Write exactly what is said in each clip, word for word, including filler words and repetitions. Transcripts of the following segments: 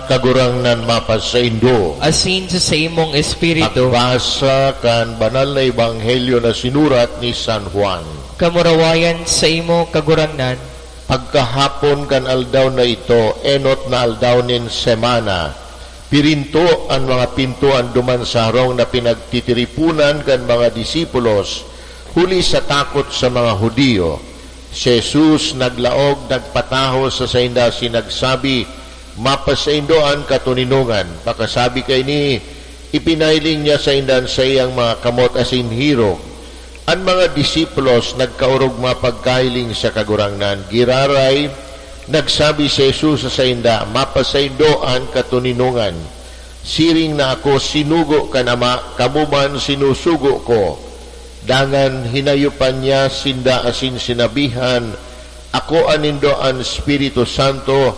Kagurangnan mapasaindo. Asin sa saimong espiritu. Pagbasa kan Banal na Ebanghelyo na sinurat ni San Juan. Kamurawayan saimo, Kagurangnan. Pagkahapon kan aldaw na ito, enot na aldaw nin semana, pirinto an mga pintoan duman sa harong na pinagtitiriponan kan mga disipulos, huli sa takot sa mga Judio. Si Jesus naglaog, nagpataho sa sainda asin nagsabi, "Mapasaindo an katoninongan." Pakasabi kaini, ipinahiling niya sainda an saiyang mga kamot asin hirog. An mga disipulos nagkaorog mapagkahiling sa Kagurangnan. Giraray, nagsabi si Jesus sa sainda, "Mapasaindo an katoninongan. Siring na ako sinugo kan Ama, kamo man sinusugo ko." Dangan hinayopan niya sinda asin sinabihan, "Akoa nindo an Espiritu Santo,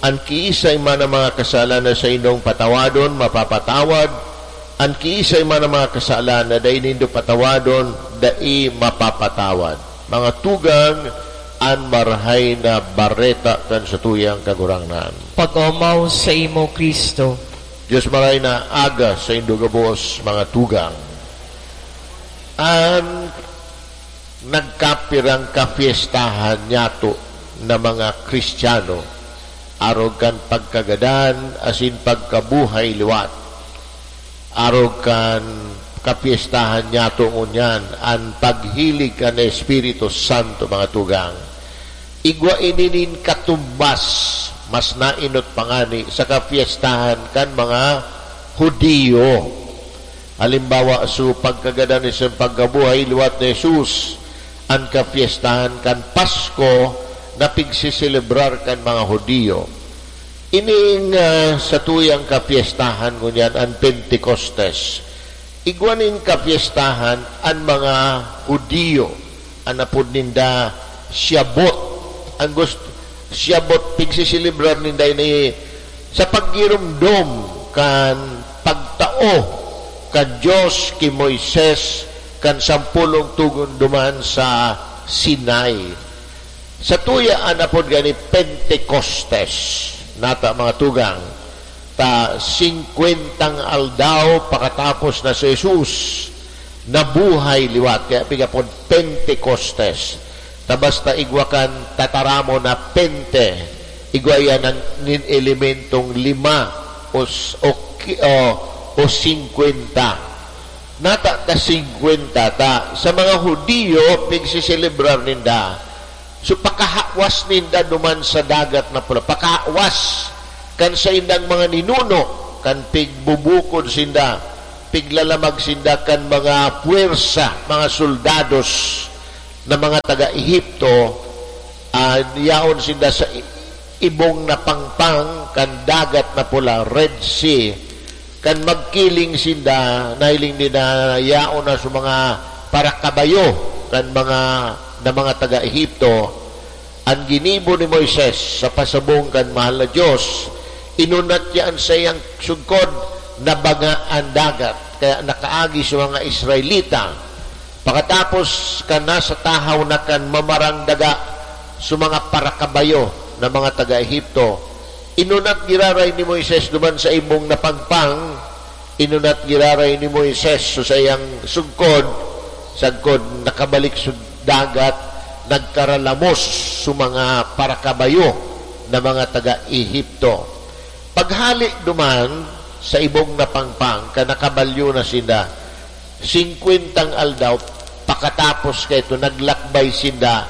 an kiisay man na mga kasalan na saindong patawadon, mapapatawad, an kiisay man na mga kasalan na dai nindo patawadon, dai mapapatawad." Mga tugang, an Marahay na Bareta kan satuyang Kagurangnan. Pag-omaw saimo, Cristo. Dios, Marahay na Aga saindo gabos, mga tugang. An nagkapirang kapiestahan niyato na mga Kristiyano, arog kan pagkagadan asin pagkabuhay liwat. Arog kan kapiestahan niyato ngunyan, an paghilig kan Espiritu Santo, mga tugang. Igwa ini nin katumbas, mas nainot pa ngani sa kapiestahan kan mga Judio. Halimbawa, so pagkagadan ni sa pagkabuhay liwat ni Jesus, an kapiestahan kan Pasko na pigsiselebrar kan mga Judio. Ining, ah, satuyang kapiestahan ngunyan an Pentecostes. Igwa nin kapiestahan an mga Judio, an apod ninda Shavuot. An gust-, Shavuot, pigsiselebrar ninda ini sa paggiromdom kan pagtao kan Dios ki Moises kan sampolong tugon duman sa Sinai. Satuya an apod gani Pentecostes, nata, mga tugang, ta singkwentang aldaw pakatapos na si Jesus nabuhay liwat, kaya pigapod Pentecostes. Ta basta igwa kan tataramon na pente, igwa iyan an nin elementong lima o s-, o ki-, o, o singkwenta. Nata ta singkwenta ta sa mga Judio, pigsiselebrar ninda. So, pakahawas ninda duman sa Dagat na Pula, pakahawas kan saindang mga ninuno, kan pigbubukod sinda, piglalamag sinda kan mga puwersa, mga soldados na mga taga Egipto, ah, yaon sinda sa i-, ibong na pangpang kan Dagat na Pula, Red Sea. Kan magkiling sinda, nahiling ninda yaon na sa mga parakabayo kan mga, na mga taga Egipto. An ginibo ni Moises sa pasabong kan Mahal na Dios, inunat niya an saiyang sugkod, nabaga an dagat, kaya nakaagi sa mga Israelita. Pakatapos kan nasa tahaw na kan mamarang daga sa mga parakabayo na mga taga Egipto, inunat giraray ni Moises duman sa ibong na pangpang, inunat giraray ni Moises sa saiyang sugkod, sagkod nakabalik sa dagat, nagkaralamos sa mga parakabayo na mga taga Egipto. Paghali duman sa ibong na pangpang, kan nakabalyo na sinda, singkwentang aldaw pakatapos kaito, naglakbay sinda,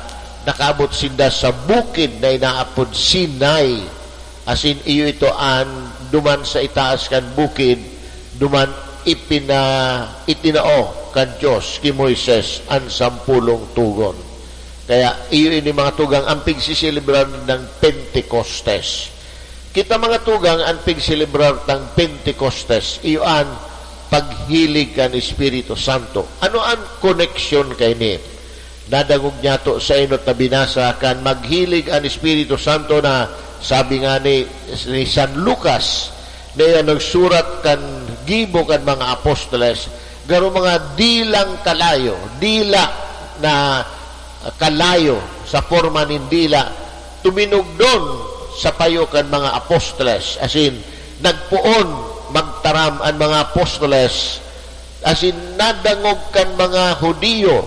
nakaabot sinda sa bukid na inaapod Sinai. Asin iyo ito an duman sa itaas kan bukid, duman ipina-, itinao kan Dios ki Moises an sampolong tugon. Kaya iyo ini, mga tugang, an pigsiselebrar nindang Pentecostes. Kita, mga tugang, an pigselebrar tang Pentecostes, iyo an paghilig kan Espiritu Santo. Ano an koneksyon kaini? Nadangog niyato sa enot na binasa kan maghilig an Espiritu Santo na sabi nga ni, ni San Lucas, na iya nagsurat kan gibo kan mga apostoles, garo mga dilang kalayo, dila na kalayo sa porma nin dila, tuminugdon sa payo kan mga apostoles, asin Nagpoon magtaram an mga apostoles, asin nadangog kan mga Judio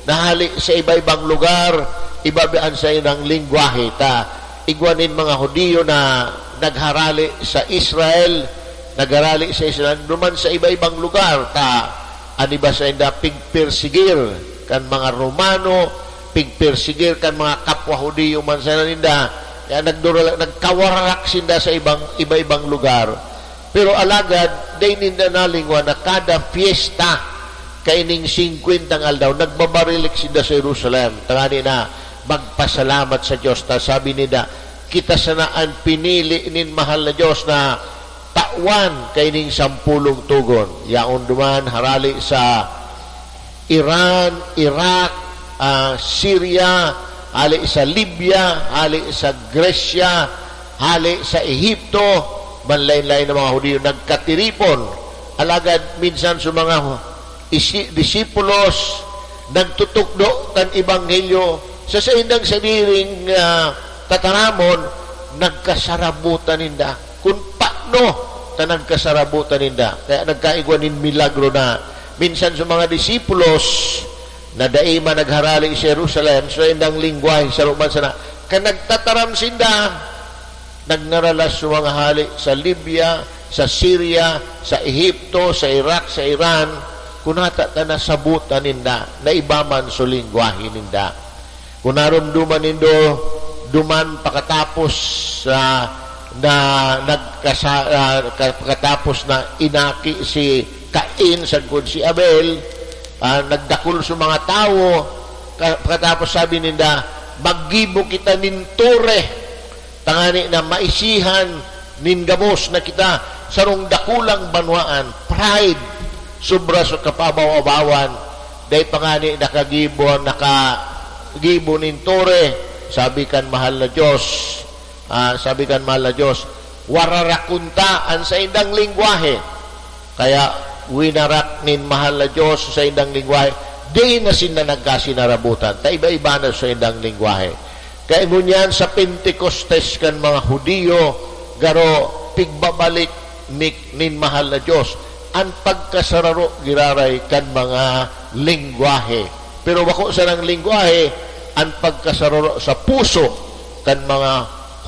na hale sa iba-ibang lugar, iba-iba an saindang lengwahe. Ta igwa nin mga Judio na nagharale sa Israel, nagharale sa Israel, duman sa iba-ibang lugar, ta an iba sainda pigpersigir kan mga Romano, pigpersigir kan mga kapwa Judio man sana ninda. Kaya nagdurala-, nagkawararak sinda sa ibang, iba-ibang lugar. Pero alagad, dai ninda nalingwan na kada fiesta, kaining singkwentang aldaw, nagbabarilik sinda sa Jerusalem. Tangani na magpasalamat sa Dios. Ta sabi ninda, "Kita sana an pinili nin mahal na Dios na tawan kaining sampolong togon." Yaon duman, harali sa Iran, Iraq, ah, Syria, hale sa Libya, hale sa Gresya, hale sa Ehipto, manlaen-laen na mga Judio nagkatiripon. Alagad minsan sa mga isi-, disipulos, nagtutukdo kan ebanghelyo sa saindang sadiring, ah, tataramon, nagkasarabutan ninda. Kun paano ta nagkasarabutan ninda. Kaya nagkaigwa nin milagro na minsan sa mga disipulos na dai man nagharale sa Jerusalem, sa indang lengwahe, saro man sana. Kan nagtataram sinda, nagnaralas sa mga hale sa Libya, sa Syria, sa Ehipto, sa Iraq, sa Iran, kun hata ta nasabutan ninda na iba man sa lengwahe ninda. Kun naromdoman nindo, duman pakatapos, ah, na nagkasa-, ah, ka-, pakatapos na inaki si Cain sagkod si Abel, ah, nagdakul sa mga tawo, ka-, pakatapos sabi ninda, "Maggibo kita nin tore." Tangani na maisihan nin gabos na kita sarong dakulang banwaan, pride, sobra sa kapabaw-abawan, dai pa ngani nakagibo, nakagibo nin tore. Sabi kan mahal na Dios, ah, sabi kan mahal na Dios, "Wararakon ta an saindang lengwahe." Kaya winarak nin mahal na Dios sa saindang lengwahe, di na sinda nagkasinarabutan, ta iba-iba na sa saindang lengwahe. Kaya ngunyan sa Pentecostes kan mga Judio, garo pigbabalik ni, nin mahal na Dios an pagkasararo giraray kan mga lengwahe. Pero bako sanang lengwahe an pagkasararo sa puso kan mga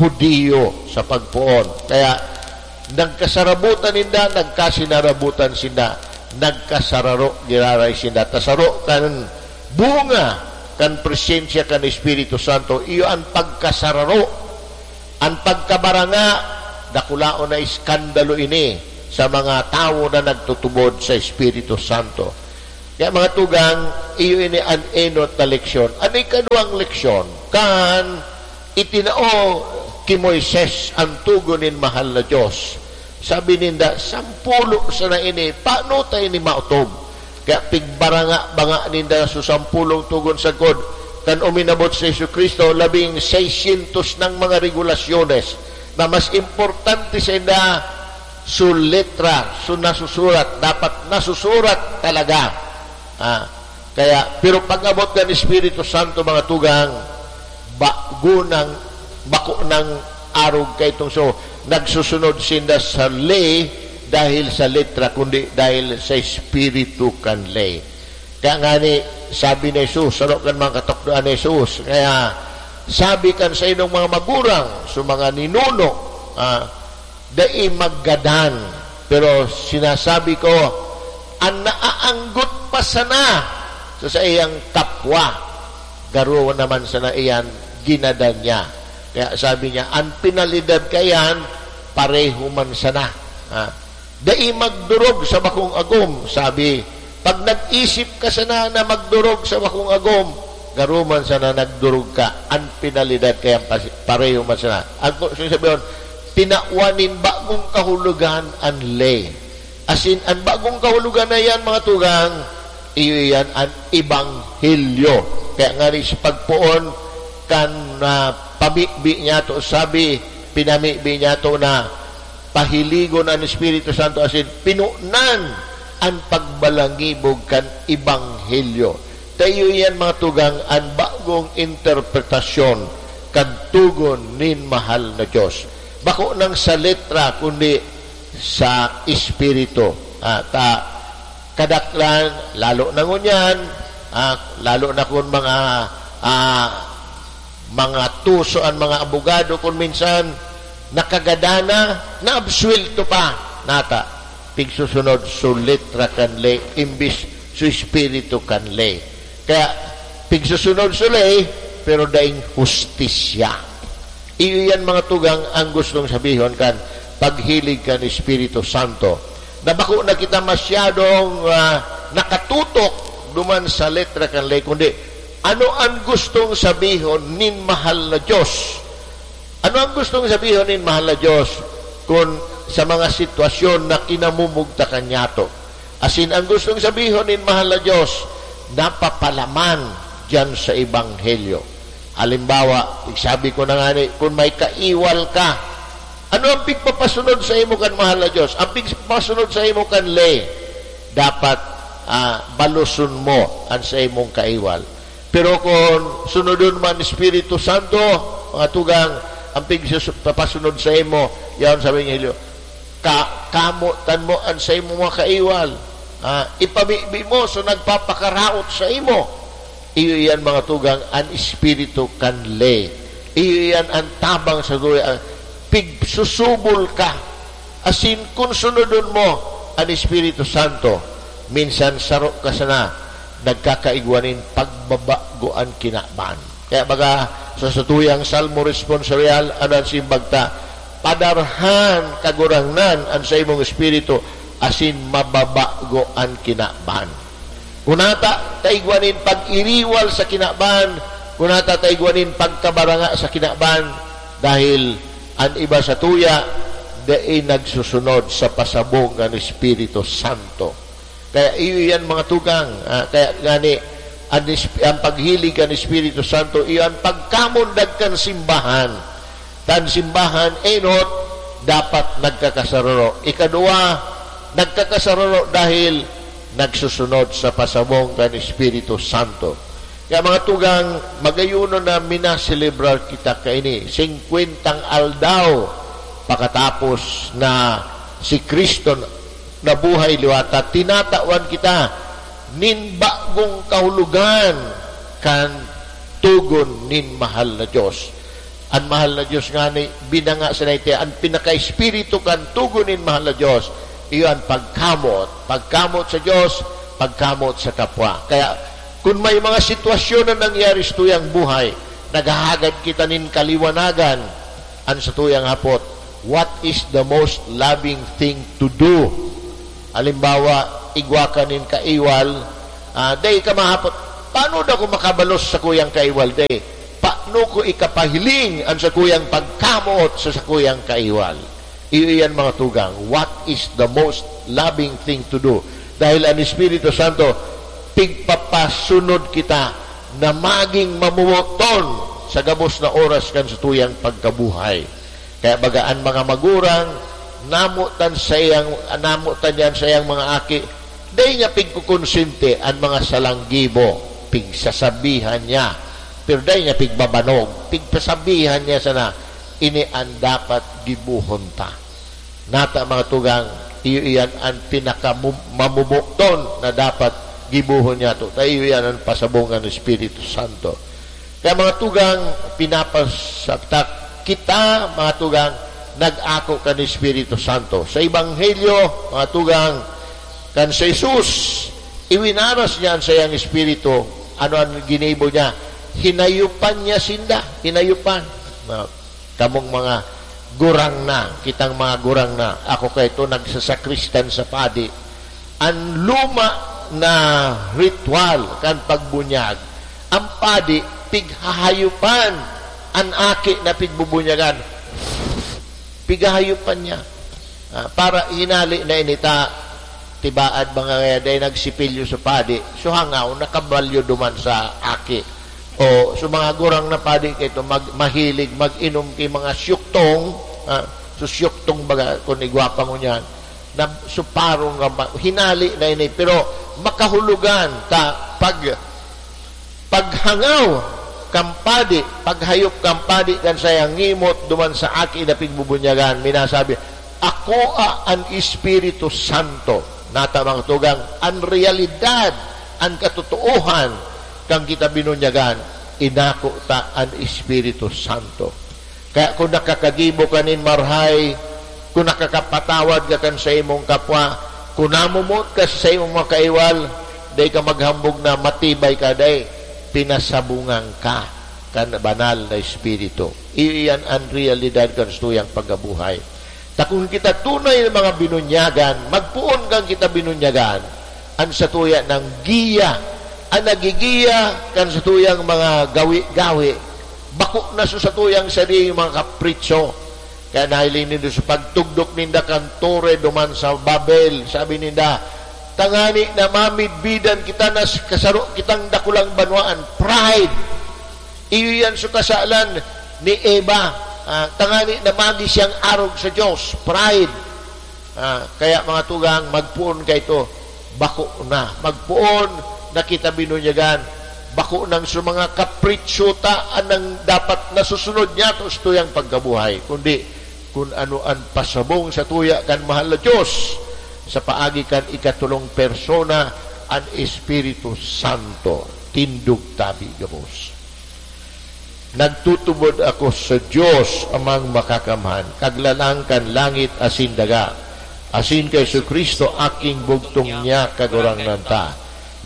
Judio sa pagpoon. Kaya nagkasarabutan ninda, nagkasinarabutan sinda, nagkasararo giraray sinda. Ta saro kan bunga kan presensya kan Espiritu Santo, iyo an pagkasararo. An pagkabaranga, dakulaon na iskandalo ini sa mga tawo na nagtutubod sa Espiritu Santo. Kaya, mga tugang, iyo ini an enot na leksyon. An ikaduwang leksyon, kan itinao ki Moises an tugon nin mahal na Dios. Sabi ninda, "Sampulo sana ini, paano ta ini maotob?" Kaya pigbaranga-banga ninda sa sampolong togon sagkod kan uminabot si Jesu-Cristo, labing seiscientos nang mga regulasyones na mas importante sainda su letra, su nasusurat, dapat nasusurat talaga. Ah, kaya, pero pag-abot kan Espiritu Santo, mga tugang, bago nang, bako nang arog kaitong so, nagsusunod sinda sa ley dahil sa letra, kundi dahil sa espiritu kan ley. Kaya ngani, sabi ni Jesus, saro kan mga katukdoan ni Jesus, kaya sabi kan saindong mga magurang, sa mga ninuno, ah, dai maggadan. Pero sinasabi ko, an naaanggot pa sana sa saiyang kapwa, garo naman sana iyan ginadan niya. Kaya sabi niya, "An penalidad kaiyan, pareho man sana." Ah, "Dai magdorog sa bakong agom," sabi. "Pag nag-isip ka sana na magdorog sa bakong agom, garo man sana nagdorog ka, an penalidad kaiyan pas-, pareho man sana." Ang ku-, so sabihon, tinawan nin bagong kahulogan an ley. Asin, an bagong kahulogan na iyan, mga tugang, iyo iyan an ebanghelyo. Kaya ngani sa pagpoon kan, ah, pamibi niyato, sabi, pinamibi niyato na pahiligon an Espiritu Santo asin pinunan an pagbalangibog kan ebanghelyo. Ta iyo iyan, mga tugang, an bagong interpretasyon kan tugon nin mahal na Dios. Bako nang sa letra, kundi sa Espiritu. Ah, ta, kadaklan, lalo na ngunyan, ah, lalo na kung mga, ah, mga tuso an mga abogado, kung minsan nakagadana, naabsuwelto pa, nata, pigsusunod su letra kan ley, imbis su espiritu kan ley. Kaya, pigsusunod su ley, pero daing hustisya. Iyo yan, mga tugang, ang gustong sabihon kan paghilig kan Espiritu Santo, na bako na kita masyadong, ah, nakatutok duman sa letra kan ley, kundi ano an gustong sabihon nin mahal na Dios? Ano ang gustong sabihon nin mahal na Dios kun sa mga sitwasyon na kinamumugtakan niyato? Asin ang gustong sabihon nin mahal na Dios, napapalaman diyan sa Ebanghelyo. Halimbawa, sabi ko na nga ni, kung may kaiwal ka, ano ang pigpapasunod sa imo kan mahal na Dios? Ang pigpapasunod sa imo kan ley, dapat, ah, baloson mo an sa imong kaiwal. Pero kung sunodon man Espiritu Santo, mga tugang, ang pigsus-, papasunod sa imo, yaon sa Ebanghelyo, ka-, kamotan mo an sa imo mga kaiwal. Ah, ipamibi mo sa nagpapakaraot sa imo. Iyo iyan, mga tugang, an espiritu kan ley. Iyo iyan an tabang sa duya, ah, pigsusubol ka. Asin kun sunodon mo an Espiritu Santo, minsan saro ka sana nagkakaigwa nin pagbabago an kinaban. Kaya baga, sa satuyang Salmo Responsorial, ano an simbag ta? "Padarhan, Kagurangnan, an saimong espiritu, asin mababago an kinaban." Kunata ta igwa nin pag-iriwal sa kinaban, kunata ta igwa nin pagkabaranga sa kinaban, dahil an iba satuya dai nagsusunod sa pasabong kan Espiritu Santo. Kaya iyo yan, mga tugang, ah, kaya ngani, an Esp-, an paghilig kan Espiritu Santo, iyo an pagkamundag kan simbahan. Tan simbahan, enot, dapat nagkakasararo. Ikaduwa, nagkakasararo dahil nagsusunod sa pasabong kan Espiritu Santo. Kaya, mga tugang, magayunon na minaselebrar kita kaini, singkwentang aldaw pakatapos na si Cristo nabuhay liwat ta, tinatawan kita nin bagong kahulogan kan togon nin mahal na Dios. An mahal na Dios ngani, binanga sa naiti, an pinaka-espiritu kan togon nin mahal na Dios, iyo an pagkamot. Pagkamot sa Dios, pagkamot sa kapwa. Kaya, kun may mga sitwasyon na nangyari sa tuyang buhay, naghahagad kita nin kaliwanagan, an satuyang hapot, "What is the most loving thing to do?" Halimbawa, igwa ka nin kaiwal, ah, dai ka mahapot, "Paano daw ako makabalos sa kuyang kaiwal?" Dai. "Paano ko ikapahiling an sakuyang pagkamot sa sakuyang kaiwal?" Iyo iyan, mga tugang. What is the most loving thing to do? Dahil an Espiritu Santo, pigpapasunod kita na maging mamuboton sa gabos na oras kan satuyang pagkabuhay. Kaya baga an mga magurang, namotan saiyang, namotan niya an saiyang mga aki, dai niya pigkukonsente an mga salang gibo, pigsasabihan niya, pero dai niya pigbabanog, pigpasabihan niya sana, "Ini an dapat gibohon ta." Nata, mga tugang, iyo iyan an pinaka mu-, mamuboton na dapat gibohon niyato. Ta iyo iyan an pasabong kan Espiritu Santo. Kaya, mga tugang, pinapasatak kita, mga tugang, nag-ako kan Espiritu Santo. Sa Ebanghelyo, mga tugang, kan si Jesus, iwinaras niya an saiyang Espiritu. Ano an ginibo niya? Hinayupan niya sinda. Hinayupan. Na, kamong mga gurang na, kitang mga gurang na, ako kaito nagsasakristan sa padi. An luma na ritual kan pagbunyag, an padi pighahayupan, an aki na pigbubunyagan, pighahayupan niya. Ah, para hinali na ini ta, tibaad mga kaya dai nagsipilyo sa padi, so hangaw, nakabalyo duman sa aki. O, so mga gurang na padi kaito, mag-, mahilig mag-inom ki mga syuktong, ah, so syuktong baga, kung igwa pa ngunyan, na suparong nga ma-, hinali na ini, pero makahulogan ta pag, paghangaw kan padi, paghayop kan padi kan sayang ngimot duman sa aki na pigbubunyagan, minasabi, Akoa an Espiritu Santo. Nata, mga tugang, an realidad, an katotoohan kan kita binunyagan, inako ta an Espiritu Santo. Kaya kun nakakagibo ka nin marahay, kun nakakapatawad ka kan saimong kapwa, kun namomoot ka sa saimong mga kaiwal, dai ka maghambog na matibay ka, dai, pinasabungan ka kan Banal na Espiritu. Iyo iyan an realidad kan satuyang pagkabuhay. Ta kun kita tunay na mga binunyagan, magpoon kan kita binunyagan, an satuya nang giya, an nagigiya kan satuyang mga gawi-gawi, bako na sa satuyang sariling mga kapritso. Kaya nahiling nindo sa pagtugdok ninda kan tore duman sa Babel, sabi ninda, "Tangani na mamidbidan kita na s-, kasaro kitang dakulang banwaan." Pride. Iyo yan sa kasalan ni Eva. Ah, tangani na magi siyang arog sa Diyos. Pride. Ah, kaya, mga tugang, magpoon kaito. Bako na. Magpoon na kita binunyagan. Bako nang sa mga kapritso ta an nang dapat nasusunod niyato sa tuyang pagkabuhay, kundi kun ano an pasabong sa tuya kan mahal na Diyos sa paagi kan ikatolong persona, an Espiritu Santo. Tindog tabi gabos. Nagtutubod ako sa Dios, Amang Makakamhan, Kaglalang kan langit asin daga, asin kay Jesu-Cristo, aking bugtong niya, Kagurangnan ta.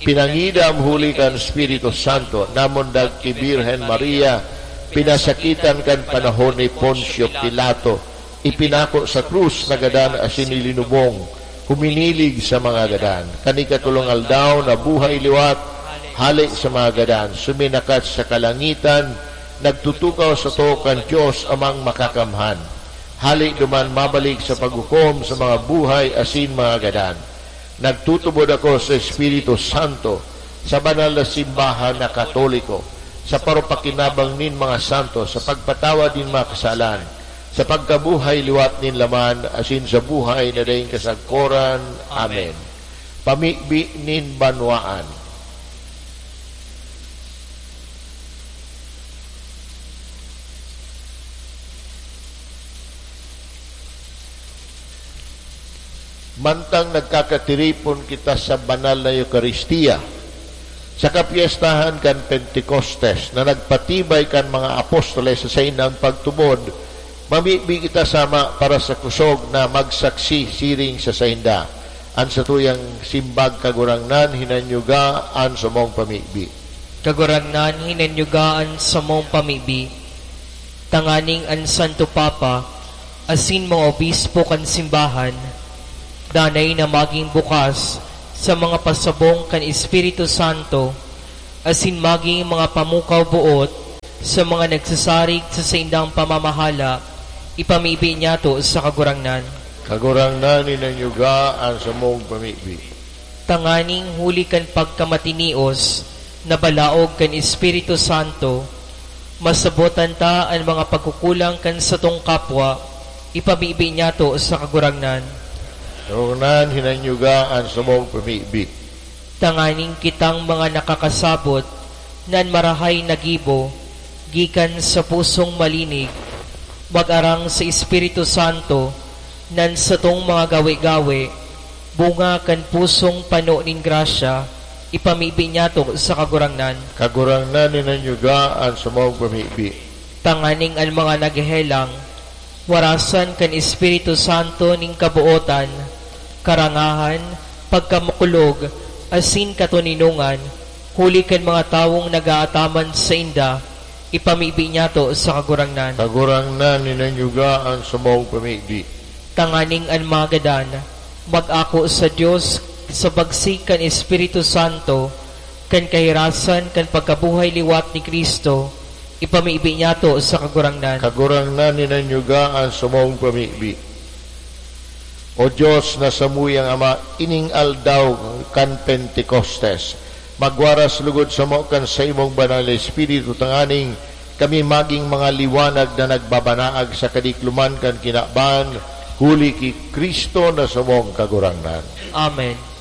Pinangidam huli kan Espiritu Santo, namundag ki Birhen Maria, pinasakitan kan panahon ni Poncio Pilato, ipinako sa krus, nagadan asin ilinubong, huminilig sa mga gadan. Kan ikatolong aldaw, nabuhay liwat, hale sa mga gadan, suminakat sa kalangitan, nagtutukaw sato kan Dios Amang Makakamhan. Hale duman mabalik sa paghukom sa mga buhay asin mga gadan. Nagtutubod ako sa Espiritu Santo, sa banal na simbahan na Katoliko, sa parupakinabang nin mga santo, sa pagpatawad nin mga kasalan, sa pagkabuhay liwat nin laman, asin sa buhay na daing kasagkoran. Amen. Pamibi nin banwaan. Mantang nagkakatiripon kita sa banal na Eukaristia, sa kapyestahan kan Pentecostes na nagpatibay kan mga apostoles sa saindang pagtubod, mamibi kita sama para sa kusog na magsaksi siring sa sainda. An satuyang simbag, Kagurangnan, hinanyuga an samong pamibi. Kagurangnan, hinanyuga an samong pamibi. Tanganing an Santo Papa asin mga obispo kan simbahan danay na magin bukas sa mga pasabong kan Espiritu Santo asin magin mga pamukaw boot sa mga nagsasarig sa saindang pamamahala, ipamibi niyato sa Kagurangnan. Kagurangnan, hinanyuga an samong pamibi. Tanganing huli kan pagkamatinios na balaog kan Espiritu Santo, masabotan ta an mga pagkukulang kan satong kapwa, ipamibi niyato sa Kagurangnan. Kagurangnan, hinanyuga an samong pamibi. Tanganing kitang mga nakakasabot na an marahay na gibo gikan sa pusong malinig, mag-arang sa Espiritu Santo, na an satong mga gawe-gawe, bunga kan pusong pano nin grasya, ipamibi niyato sa Kagurangnan. Kagurangnan, hinanyuga an samong pamibi. Tanganing an mga naghehelang, warasan kan Espiritu Santo nin kabootan, karangahan, pagkamakulog, asin katoninongan, huli kan mga tawong nag-aataman sainda, ipamibi niyato sa Kagurangnan. Kagurangnan, hinanyuga an samong pamibi. Tanganing an mga gadan mag-ako sa Dios sa bagsik kan Espiritu Santo, kan kahirasan kan pagkabuhay liwat ni Cristo, ipamibi niyato sa Kagurangnan. Kagurangnan, hinanyuga an samong pamibi. O Dios na samuyang Ama, ining aldaw kan Pentecostes, magwaras lugod samo kan saimong Banal na Espiritu, tanganing kami magin mga liwanag na nagbabanaag sa kadikloman kan kinaban, huli ki Cristo na samong Kagurangnan. Amen.